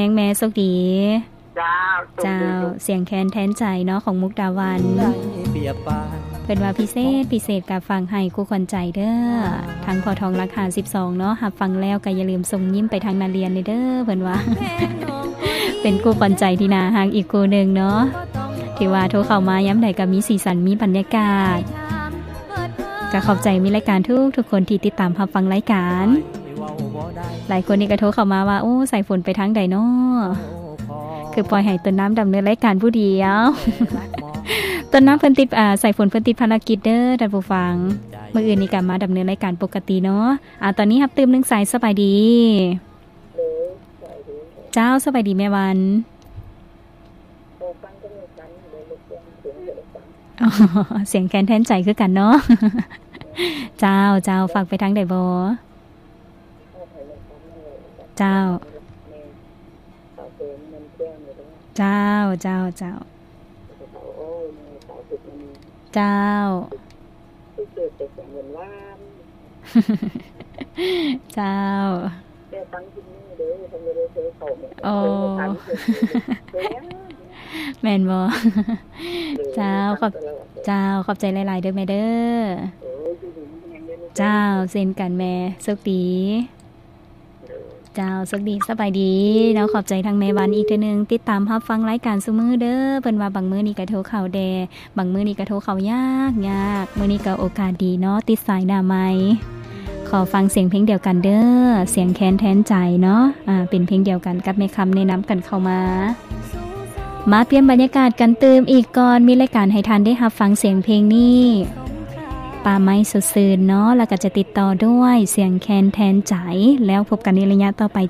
ງແມ່ ໂຊກດີ. ເຈົ້າ ເຈົ້າ ເສຍງແຄນແທນໃຈເນາະ ຂອງມຸກດາວັນ ເພິ່ນວ່າພິເສດ ພິເສດກະຝາກໃຫ້ຄູ່ຂວັນໃຈເດີ້ ທາງພໍ່ທອງຫຼັກຫ້າສິບສອງເນາະ ຮັບຟັງແລ້ວກະຢ່າລືມສົ່ງຍິ້ມໄປທາງນາລຽນແດ່ເດີ້ ເພິ່ນວ່າ ເປັນຄູ່ຂວັນໃຈທີ່ໜ້າຮັກອີກຄູ່ໜຶ່ງເນາະ ທີ່ວ່າໂທເຂົ້າມາຍາມໃດກະມີສີສັນ ມີບັນຍາກາດ ກະຂອບໃຈມີລາຍການທຸກໆຄົນທີ່ຕິດຕາມຮັບຟັງລາຍການ. ຫຼາຍຄົນນີ້ກະໂທເຂົ້າມາວ່າ ໂອ້ ສາຍຝົນໄປທາງໃດນໍ ຄືປ່ອຍໃຫ້ຕົ້ນນ້ຳດຳເນີນລາຍການຜູ້ດຽວ ຕົ້ນນ້ຳເພິ່ນຕິດ ອາ ສາຍຝົນເພິ່ນຕິດພາລະກິດເດີ້ທ່ານຜູ້ຟັງ ມື້ອື່ນນີ້ກະມາດຳເນີນລາຍການປົກກະຕິເນາະ. ອາ ຕອນນີ້ຮັບຕື່ມໜຶ່ງສາຍ ສະບາຍດີ. ເຈົ້າ ສະບາຍດີແມ່ວັນ. ເສຍງແຄນແທນໃຈຄືກັນເນາະ. ເຈົ້າ ເຈົ້າ ຝາກໄປທາງໃດບໍ? ເຈົ້າ ເຈົ້າ ເຈົ້າ ເຈົ້າ ເຈົ້າ ເຈົ້າ. ອໍ ແມ່ນບໍ່? ເຈົ້າ ຂອບ ເຈົ້າ ຂອບໃຈຫຼາຍໆເດີ້ແມ່ເດີ້. ເຈົ້າ ເຊັ່ນກັນແມ່ ໂຊກດີ. ເຈົ້າ ໂຊກດີ ສະບາຍດີເນາະ. ຂອບໃຈທາງແມ່ວັນອີກເທື່ອໜຶ່ງ ຕິດຕາມຮັບຟັງລາຍການຊຸມື້ເດີ້. ເພິ່ນວ່າບາງມື້ນີ້ກະໂທເຂົ້າແດ່ ບາງມື້ນີ້ກະໂທເຂົ້າຍາກໆ. ມື້ນີ້ກະໂອກາດດີເນາະ ຕິດສາຍໜ້າໃໝ່. ຂໍຟັງສຽງເພງດຽວກັນເດີ້ ສຽງແຄນແທນໃຈເນາະ. ອາ ເປັນເພງດຽວກັນກັບແມ່ຄຳແນະນຳກັນເຂົ້າມາ. ມາປ່ຽນບັນຍາກາດກັນຕື່ມອີກກ່ອນ ມີລາຍການໃຫ້ທ່ານໄດ້ຮັບຟັງສຽງເພງນີ້ ປ່າໄມ້ສົດຊື່ນເນາະ ແລ້ວກະຈະຕິດຕໍ່ດ້ວຍສຽງແຄນແທນໃຈ. ແລ້ວພົບກັນໃນໄລຍະຕໍ່ໄປ